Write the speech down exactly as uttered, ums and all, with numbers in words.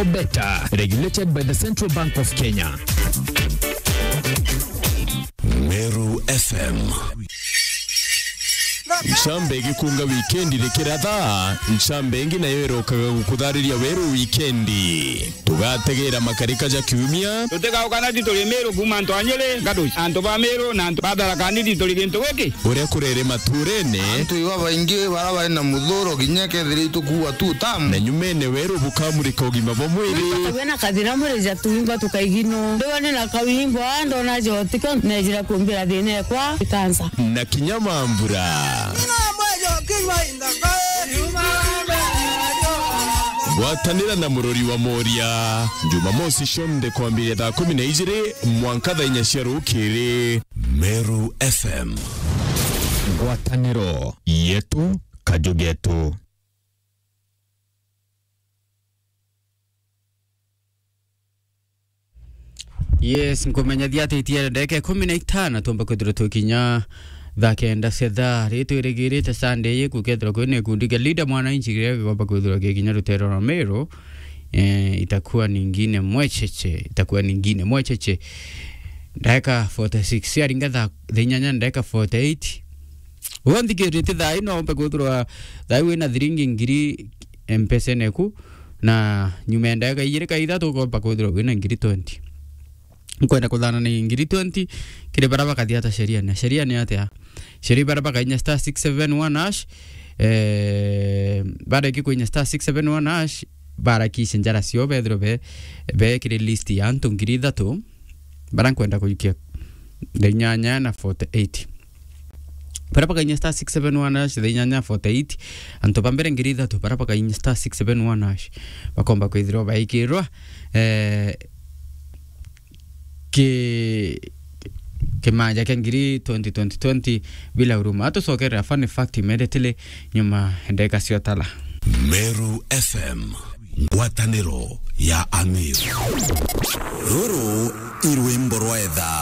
Better, regulated by the Central Bank of Kenya. Meru F M. Ncambe igikunga wikendi rikiratha, ncambe ingi nayo irokaga gukuthariria weru wikendi. Tugategera makarika ja kiumia. Tutigaukana ti turi Meru kuuma antu a Nyeri, Gaduci. Antu ba Meru na antu ba Tharaka Nithi turi gintu giki. Uria kurere maturene. Antu iba baingi bara bari na muthuro kinya kethira itukuua tu tamu. Na nyumene weru bukamurika ugima bwa mwiri. Wina kathina mwiri ja tuimba tukaigino. Ndiwa ni na kawimbo, ndona jotiko, nejira kumbira thina ekwa, ikansa. Na kinya mambura. Ngwatanira na murori wa Moria. Jumamosi cionthe kwambiria thaa kumi na ijiri mwanka thaa inya cia rukiri. Meru F M. Ngwataniro yetu, kaju getu. Yes, nkumenyithia ati itiere ndagika ikumi na itano tumba kwithirwa twikinya thaa kenda cia thaa. Ri twirigirite Sunday ii gukethirwa kwina gikundi kia Linda Mwananchi kiria gikomba kwithirwa gikinya ruteere rwa Meru. Eh, itakuwa nyingine mwecheche, itakuwa nyingine mwecheche. Ndagika forty six, ciaringa thaa, thaa inyanya ndagika forty eight. Uga nthikirite thaa ino umbe kwithirwa thaa ii wina thiringi ngiri mpesene eku, na nyuma ya ndagika ijiri ka ithatu ukomba kwithirwa wina ngiri twenty. Nkwenda kuthana ni ngiri twenty kiri bara bakathia ata sheria. Na sheria ni atia? Sheria bara bakainya star six seven one hash, eh, bareki kuinya star six seven one hash, barakishe njara cio bethirwe be, be kiri list ya antu ngiri ithatu. Bara nkwenda kuikia thaa inyanya na forty eight. Bara bakainya star six seven one hash, thaa inyanya forty eight. Antu ba mbere ngiri ithatu, bara bakainya star six seven one hash, bakomba kwithirwa baikirwa, eh, ki-, kimanja kia ngiri twenty twenty twenty bila huruma. Atucokerera fun fact immediately nyuma ndeka cio tala. Meru F M. Ngwataniro ya Amiru. Ruru i rwimbo rwa etha.